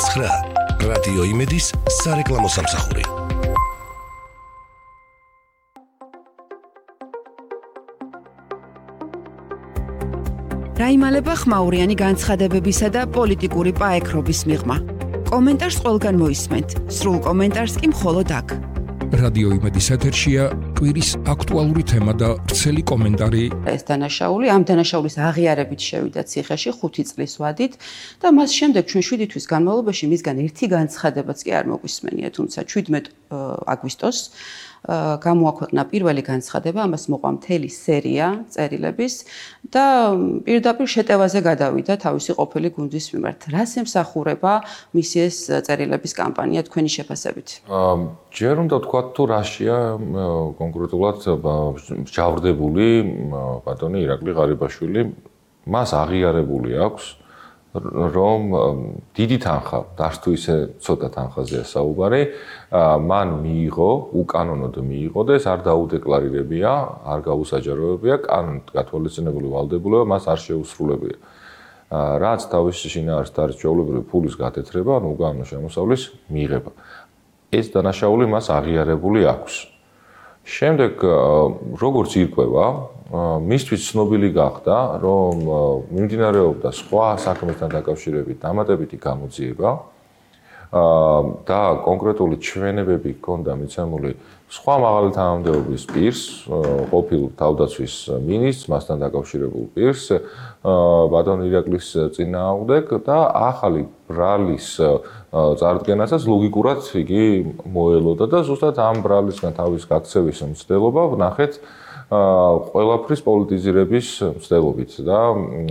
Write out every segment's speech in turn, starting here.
9. რადიო იმედის სარეკლამო სამსახური. რაიმალება ხმაურიანი განცხადებებისა და პოლიტიკური პაექრობის მიღმა. კომენტარს ყველგან მოისმენთ, სრულ კომენტარს კი მხოლოდ აქ. რადიო იმედის ეთერშია კვირის აქტუალური თემა და ვრცელი კომენტარი. ეს დანაშაული, ამ დანაშაულის აღიარებით შევიდა ციხეში 5 წლის ვადით და მას შემდეგ ჩვენ 7 თვის განმავლობაში მისგან ერთი განცხადებაც კი არ მოგვისმენია, თუმცა 17 აგვისტოს გამოაქვეყნა პირველი განცხადება, ამას მოყვა მთელი სერია წერილების და პირდაპირ შეტევაზე გადავიდა თავისი ყოფილი გუნდის მიმართ. რას ემსახურება მისი ეს წერილების კამპანია თქვენი შეფასებით? ჯერ უნდა ვთქვათ თუ რაშია კონკრეტულად ჯავრდებული ბატონი ირაკლი ღარიბაშვილი, მას აღიარებული აქვს რომ დიდი თანხა, არც თუ ისე ცოტა თანხაზეა საუბარი, მან მიიღო, უკანონოდ მიიღო და ეს არ დაუდეკლარირებია, არ გაუსაჯაროებია, კანონით გათვალისწინებული ვალდებულება მას არ შეუსრულებია. რაც თავისი შინაარსით არის ჩვეულებრივი ფულის გათეთრება, ანუ უკანონო შემოსავლის მიღება. ეს დანაშაული მას აღიარებული აქვს. შემდეგ როგორც ირკვევა, მისთვის ცნობილი გახდა, რომ მიმდინარეობდა სხვა საქმესთან დაკავშირებით დამატებითი გამოძიება და კონკრეტული ჩვენებები ჰქონდა მიცემული სხვა მაღალი თანამდებობის პირს, ყოფილ თავდაცვის მინისტრს, მასთან დაკავშირებულ პირს, ბატონ ირაკლის წინააღმდეგ და ახალი ბრალის წარდგენასაც ლოგიკურად იგი მოელოდა და ზუსტად ამ ბრალისგან თავის გაქცევის მცდელობა ვნახეთ ყველაფრის პოლიტიზირების მცდელობით და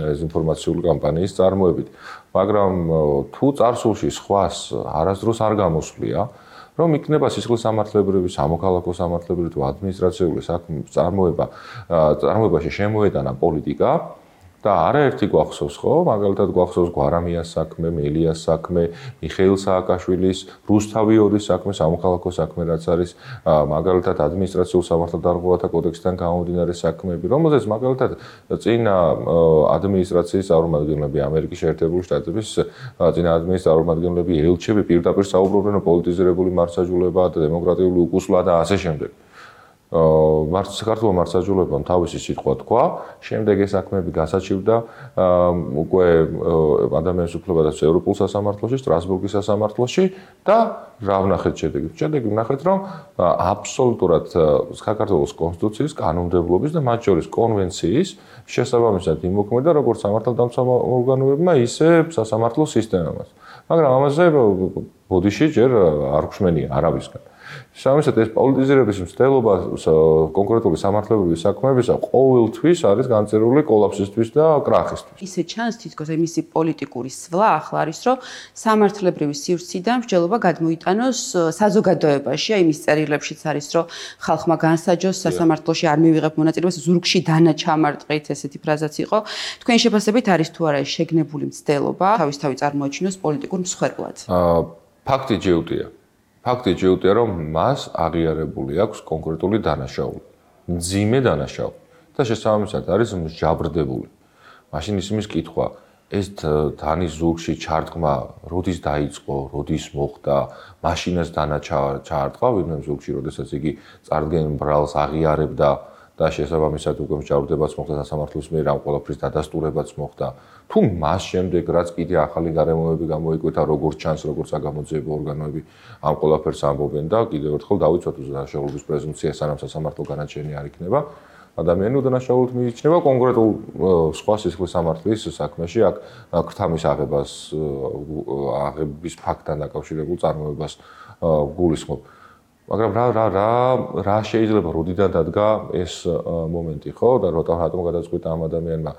დეзინფორმაციული კამპანიის წარმოებით. მაგრამ თუ წარსულში სხვას არასდროს არ გამოსვლია, რომ იქნება სისხლისამართლებრივი, სამოქალაქო სამართლებრივი თუ ადმინისტრაციული საქმის წარმოებაში შემოეტანა პოლიტიკა და არაერთი გვახსოვს ხო, მაგალითად გვახსოვს გვარამიას საქმე, მელიას საქმე, მიხეილ სააკაშვილის, რუსთავი ორის საქმე, სამოქალაქო საქმე რაც არის, მაგალითად ადმინისტრაციულ სამართალდამხმარებლთა კოდექსიდან გამომდინარე საქმეები, რომელზეც მაგალითად წინა ადმინისტრაციის წარმომადგენლები, ამერიკის შეერთებული შტატების წინა ადმინისტრაციის წარმომადგენლები, ელჩები პირდაპირ საუბრობდნენ პოლიტიზირებული მართლმსაჯულება და დემოკრატიული უკუსვლა და ასე შემდეგ. საქართველოს მართლმსაჯულებამ თავისი სიტყვა თქვა, შემდეგ ეს საქმეები გასაჩივრდა უკვე ადამიანის უფლებათა ევროპულ სასამართლოში, სტრასბურგის სასამართლოში და რა ვნახეთ შედეგი? შედეგი ვნახეთ, რომ აბსოლუტურად საქართველოს კონსტიტუციის, კანონმდებლობის და მათ შორის კონვენციის შესაბამისად იმოქმედა როგორც სამართალდამცავ ორგანოებმა, ისე სასამართლო სისტემამაც. მაგრამ ამაზე ბოდიში ჯერ არ გვშმენია არავისგან. სამისად ეს პოლიტიზირების მცდელობა კონკრეტული სამართლებრივი საქმეებისა ყოველთვის არის განწერილი კოლაფსისთვის და კრახისთვის. ისე ჩანს თითქოს მისი პოლიტიკური სვლა ახლა არის, რომ სამართლებრივი სივრციდან მსჯელობა გადმოიტანოს საზოგადოებაში, აი მის წერილებშიც არის, რომ ხალხმა განსაჯოს სასამართლოში არ მივიღებ მონაწილეობას, ზურგში დანაჩამარტყით, ესეთი ფრაზაც იყო. თქვენი შეფასებით არის თუ არა შეგნებული მცდელობა, თავისთავად წარმოაჩინოს პოლიტიკურ მსხვერპლად? ფაქტი ჯეუტია. ფაქტი ჯეუტია, რომ მას აღიარებული აქვს კონკრეტული დანაშაული, მძიმე დანაშაული და შესაბამისად არის მსჯავრდებული. მაშინ ისმის კითხვა, ეს დანის ზურგში ჩარტყმა როდის დაიწყო, როდის მოხდა, მაშინაც დანაჩარტყვა, ვინმე ზურგში, როდესაც იგი წარდგენ ბრალს აღიარებდა და შესაბამისად უკვე მსჯავრდებაც მოხდა სასამართლოს მიერ ამ ყველაფრის დადასტურებაც მოხდა. თუ მას შემდეგ რაც კიდე ახალი გარემოები გამოიკვეთა, როგორც ჩანს, როგორც საგამოძიებო ორგანოები ამ ყველაფერს ამბობენ და კიდევ ერთხელ დავიცვათ დანაშაულობის პრეზუმპცია, სანამ სასამართლო განაჩენი არ იქნება, ადამიანი უდანაშაულოდ მიიჩნევა კონკრეტულ სხვა სისხლისამართლის საქმეში, აქ ქრთამის აღების ფაქტთან დაკავშირებულ წარმოებას გულისხმობ. მაგრამ რა შეიძლება როდიდან დადგა ეს მომენტი, ხო? და რატომ გადაწყვიტა ამ ადამიანმა?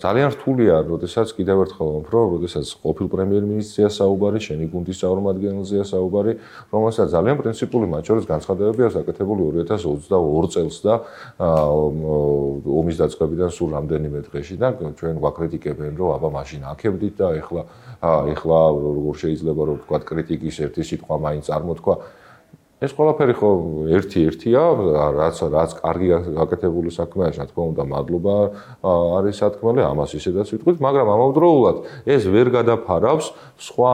ძალიან რთულია, როდესაც კიდევ ერთხელ ვამბობ, როდესაც ყოფილ პრემიერ-მინისტრია საუბარი, შენი გუნდის წარმომადგენელზეა საუბარი, რომელსაც ძალიან პრინციპული მათ შორის განცხადებები აქვს გაკეთებული 2022 წელს და ომის დაწყებიდან სულ რამდენიმე დღეში და ჩვენ ვაკრიტიკებენ, რომ აბა მაშინ აქებდით და ეხლა როგორ შეიძლება რომ ვთქვათ კრიტიკის ერთი სიტყვა მაინც წარმოთქვა. ეს ყველაფერი ხო ერთი-ერთია, რაც კარგი გაკეთებული საქმეა, რა თქმა უნდა, მადლობა არის სათქმელი, ამას ისედაც ვიტყვით, მაგრამ ამავდროულად ეს ვერ გადაფარავს სხვა